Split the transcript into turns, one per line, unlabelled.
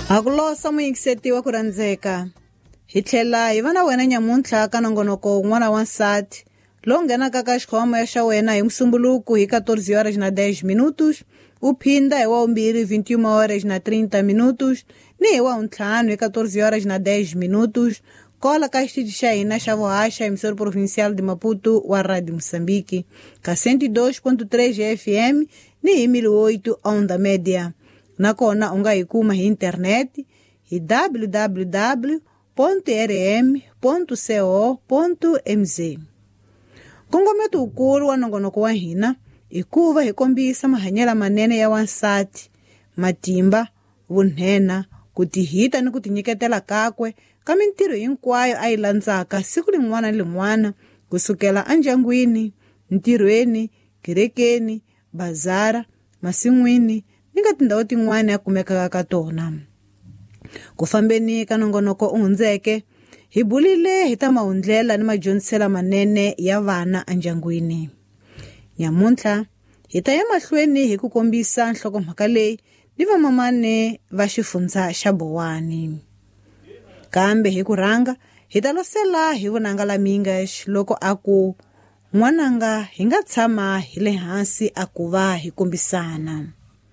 Ha ku losa muyingiseti wa ku rhandzeka hi tlhela hi va na wena nyamuntlha ka nongonoko wun'wana wa nsati lowu nghenaka ka xikhoma xa wena hi musumbuluku hi 14 horas na 10 minutos, u phinda hi wa vumbirhi 21 horas na 30 minutos ni hi wa vuntlhanu hi 14 horas na 10 minutos kola ka xitichi xa hina xa vuhaxa emissora provincial de Maputo wa Radio Moçambique ka 102.3 FM ni hi 1008 onda média. Nakona u nga hi kuma hi internet hi www.rm.co.mz. Nkongometo wukulu wa nongonoko wa hina i ku va hi kombisa mahanyelo manene ya wansati, matimba, vunhena, ku tihita ni ku tinyiketela kakwe ka mintirho hinkwayo a yi landzaka siku rin'wana ni rin'wana kusukela endyangwini, ntirhweni, kerekeni, bazara, masin'wini ni ka tindhawu tin'wana ya kumekaka ka tona. Ku fambeni ka nongonoko u hundzeke, hi bulile hi ta mahundlela ni madyondziselo manene ya vana endyangwini. Nyamuntlha hi ta ya mahlweni hi ku kombisa nhlokomhaka leyi ni vamamane va xifundza xa Bowani. Kambe hi ku rhanga hi ta losela hi vunanga la Mingash loko a ku n'wananga hi nga tshama hi le hansi a ku va hi kombisana.